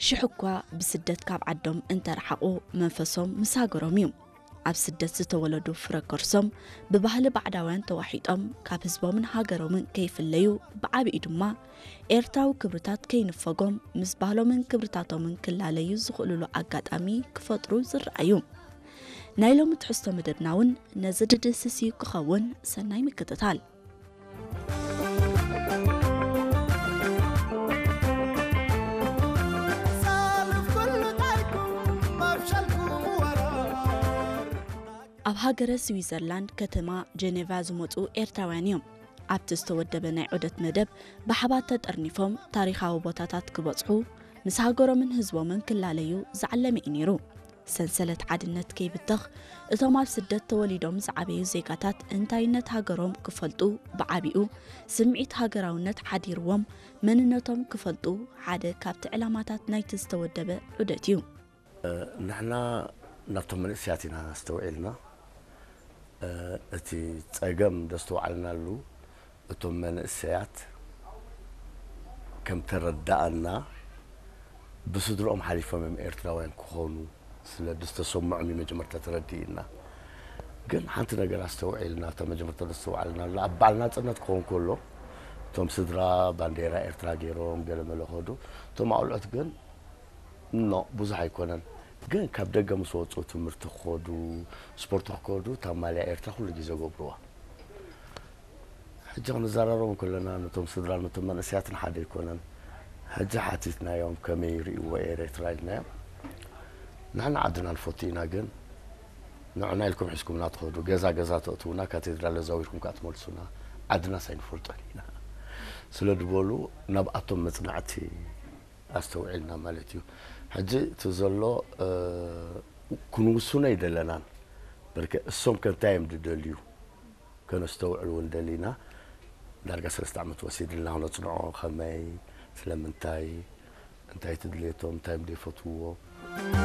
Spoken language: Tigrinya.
ሽሕ እኳ ብስደት ካብ ዓዶም እንተረሓቑ፣ መንፈሶም ምስ ሃገሮም እዩ። ኣብ ስደት ዝተወለዱ ፍረ ከርሶም ብባህሊ ባዕዳውያን ተዋሒጦም ካብ ህዝቦምን ሃገሮምን ከይፍለዩ፣ ብዓቢኡ ድማ ኤርትራዊ ክብርታት ከይንፈጎም ምስ ባህሎምን ክብርታቶምን ክላለዩ ዝኽእሉሉ ኣጋጣሚ ክፈጥሩ ዝረኣዩ። ናይ ሎሚ ትሕዝቶ መደብና እውን ነዚ ድድስስ እዩ ክኸውን። ሰናይ ምክትታል። ኣብ ሃገረ ስዊዘርላንድ ከተማ ጀኔቫ ዝመጹ ኤርትራውያን እዮም። ኣብቲ ዝተወደበ ናይ ዑደት መደብ ብሓባር ተጠርኒፎም ታሪኻዊ ቦታታት ክበጽሑ፣ ምስ ሃገሮምን ህዝቦምን ክላለዩ ዝዓለመ እዩ ነይሩ። ሰንሰለት ሓድነት ከይብተኽ፣ እቶም ኣብ ስደት ተወሊዶም ዝዓበዩ ዜጋታት እንታይነት ሃገሮም ክፈልጡ፣ ብዓቢኡ ስምዒት ሃገራውነት ሓዲርዎም መንነቶም ክፈልጡ ሓደ ካብቲ ዕላማታት ናይቲ ዝተወደበ ዑደት እዩ። ንሕና ናብቶም መንእሰያት ኢና ኣስተውዒልና። እቲ ጸገም ዘስተውዓልናሉ፣ እቶም መንእሰያት ከም ተረዳኣና፣ ብስድርኦም ሓሊፎም እዮም ኤርትራውያን ክኾኑ ስለ ዝተሰምዖም እዩ መጀመርታ ተረዲእና። ግን ሓንቲ ነገር ኣስተውዒልና፣ እታ መጀመርታ ዘስተውዓልናላ፣ ኣብ በዓል ናጽነት ክኸውን ከሎ፣ እቶም ስድራ ባንዴራ ኤርትራ ገይሮም ገለ መለ ከዱ፣ እቶም ኣውልዖት ግን ኖ፣ ብዙሕ ኣይኮነን። ግን ካብ ደገ ምስ ወፁ ትምህርቲ ክኸዱ፣ ስፖርት ክኸዱ፣ እታ ማልያ ኤርትራ ኩሉ ግዜ ገብርዋ። ሕጂ ክንዘራረቦም ከለና፣ ነቶም ስድራ፣ ነቶም መንእሰያትን ሓደ ኣይኮነን። ሕጂ ሓቲትናዮም፣ ከመይ ይርእይዎ ኤርትራ ኢልናዮም። ንሕና ዓድና ንፈቱ ኢና፣ ግን ንዕና ኢልኩም ሒዝኩምና ትኸዱ፣ ገዛ ገዛ ተእትውና፣ ካቴድራል ኣዛዊርኩም ከዓ ትመልሱና፣ ዓድናስ ኣይንፈልጦን ኢና ስለ ዝበሉ፣ ናብኣቶም መጽናዕቲ ኣስተውዒልና ማለት እዩ። ሕጂ እቲ ዘሎ፣ እ፣ ክንውስኖ ኣይደለናን። በርከ እሶም ከ እንታይ እዮም ዝደልዩ? ከነስተውዕል እውን ደሊና። ዳርጋ ሰለስተ ዓመት ወሲድልና ክነጽንዖ፣ ከመይ፣ ስለምንታይ፣ እንታይ እቲ ድሌቶም፣ እንታይ እዮም ዘይፈትውዎ።